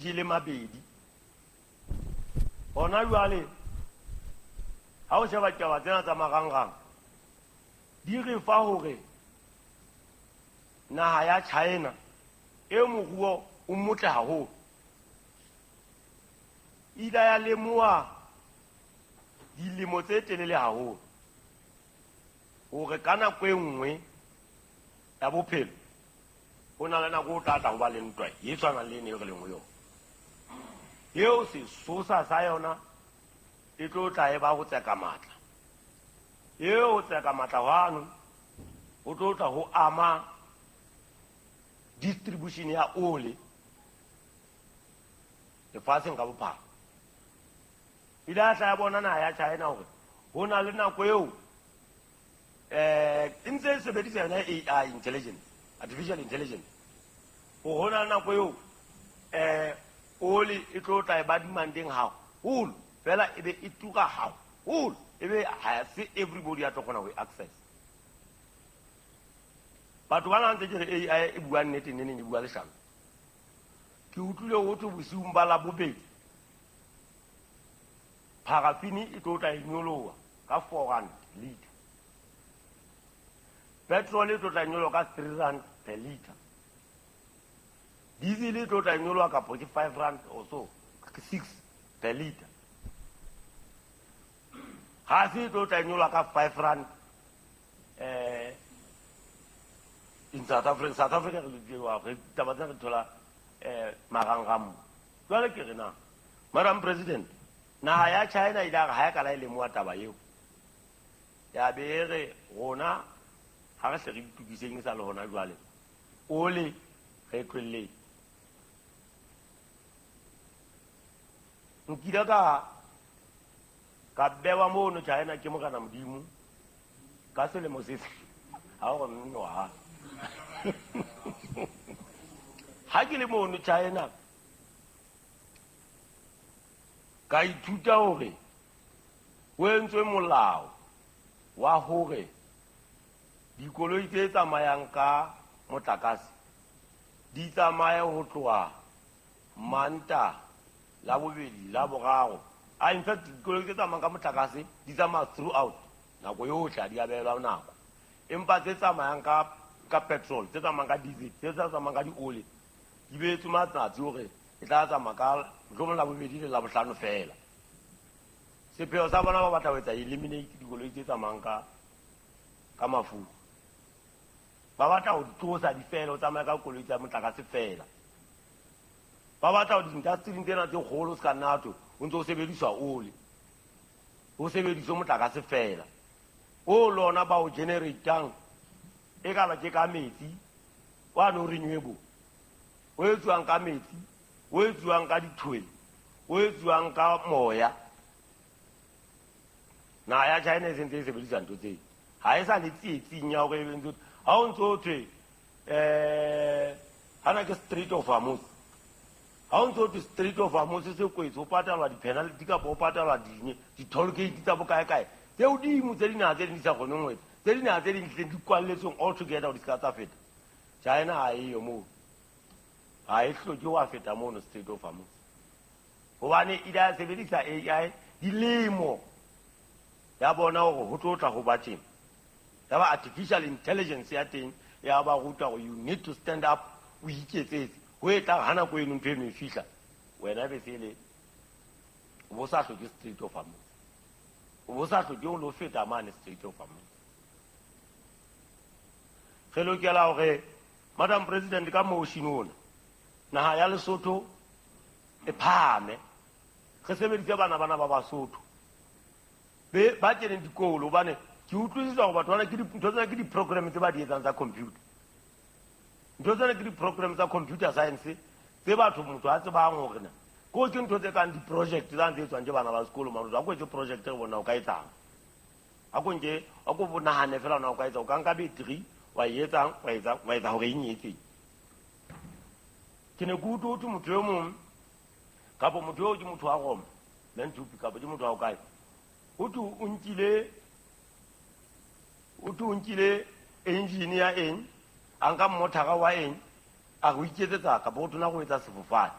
Jele mabedi. Hona jwale ha o sheba ditaba tsena tsa marangrang di re fa hore naha ya China e moruo o motle haholo ile ya lemoha dilemo tse telele haholo hore ka nako e nngwe ya bophelo ho na le nako o tla tla ho ba le ntwa e tshwanang le ene e re leng ho yona eo sesosa sa yona e tlo tla e ba ho tseka matla eo ho tseka matla hwano ho tlo tla ho ama distribution ya ole lefatsheng ka bophara. Ile a tla ya bona naha ya China hore ho na le nako eo e ntse e sebedisa yona AI intelligence, artificial intelligence, hore ho na le nako eo oli e tlo tla e ba demandeng haholo fela e be e tura haholo e be ha se everybody ya tlo kgona ho e access. Batho ba na ntse ke re AI e bua nnete neneng e bua leshano. Ke utlwile ho thwe bosiung ba Labobedi parafini e tlo tla e nyoloha ka 4 rand liter, petrol e tlo tla nyoloha ka 3 rand per liter, diesel e tlo tla nyoloha kapo ke 5 rand or so, ke 6 per liter, gase e tlo tla nyoloha ka 5 rand in South Africa. South Africa re taba tse re thola marangrang mo. Jwale ke re na Madam President, naha ya China ile a re ha e kala e lemoha taba eo ya be e re rona ha re hle re itokiseng e sa le hona jwale ole re tlohelleng. Nkile ka bewa mono China ke Morena Modimo ka selemo se ha o re nnoha ha ke le mono China ka ithuta hore ho entswe molao wa hore dikoloi tse tsamayang ka motlakase di tsamaye ho tloha Manta, Labobedi, Laboraro. A in fact dikoloi tse tsamayang ka motlakase di tsamaya throughout nako yohle, ha di a behelwa nako. Empa tse tsamayang ka petrol, tse tsamayang ka diesel, tse tsamayang ka dioli di beetswe matsatsi hore e tla tsamaya ka mohlomong Labobedi le Labohlano fela. Sepheo sa bona ba batla ho etsa eliminate dikoloi tse tsamayang ka mafura. Ba batla ho di tlosa di fele, ho tsamaya ka koloi tsa motlakase fela. Ba batla ho di-industry tsena tse kgolo se ka nna thwe o ntse o sebediswa ole, ho sebediswe motlakase fela. O lona ba o generatang e ka ba ke ka metsi wa no renewable, o etsuwang ka metsi, o etsuwang ka dithwele, o etsuwang ka moya. Naha ya China e sentse e sebedisa ntho tseo, ha e sa le tsietsing ya hore e ntse ha o ntso thwe hana ke Strait of Hormuz. Ha o ntso thwe Strait of Hormuz se kwetse, ho patalwa di-penalty kapa ho patalwa di-toll gate tsa bokae kae tse hodimo tse dinaha tse ding di sa kgoneng ho etsa, tse dinaha tse ding di kwalletsweng all together hore di se ka tsa feta. China ha eyo moo, ha e hloke ho feta mono Strait of Hormuz, hobane ile ya sebedisa AI dilemo ya bona hore ho tlo tla ho ba tjena. Ya ba artificial intelligence ya teng ya ba ruta hore you need to stand up, o iketsetse ho e tla ha nako eno ntho eno e fihla wena be se le o bo sa hloke Strait of Hormuz, o bo sa hloke ho lo feta mane Strait of Hormuz. Re lokela hore Madam President ka motion ona naha ya Lesotho e phahame, re sebedise bana bana ba Basotho be ba keneng dikolo, hobane ke utlwisisa hore batho bana ke ntho tsena ke di-program tse ba di etsang tsa computer. Ntho tsena ke di-program tsa computer science tse batho motho a tsebang hore na ko ke ntho tse kang di-project tsa tse etswang ke bana ba sekolo. Motho a ko etse project re bona o ka etsang, a ko nke a ko nahane fela na o ka etsa, o ka nka battery wa e etsang, wa etsa wa etsa hore eng e etseng. Ke ne ke utlwe ho thwe motho e mong kapo motho eo ke motho wa Roma Menthupi kapo ke motho wa kae, ho thwe o nkile, ho thwe o nkile engine ya eng, a nka mothara wa eng, a re o iketsetsa kapo ho thona go etsa sefofane.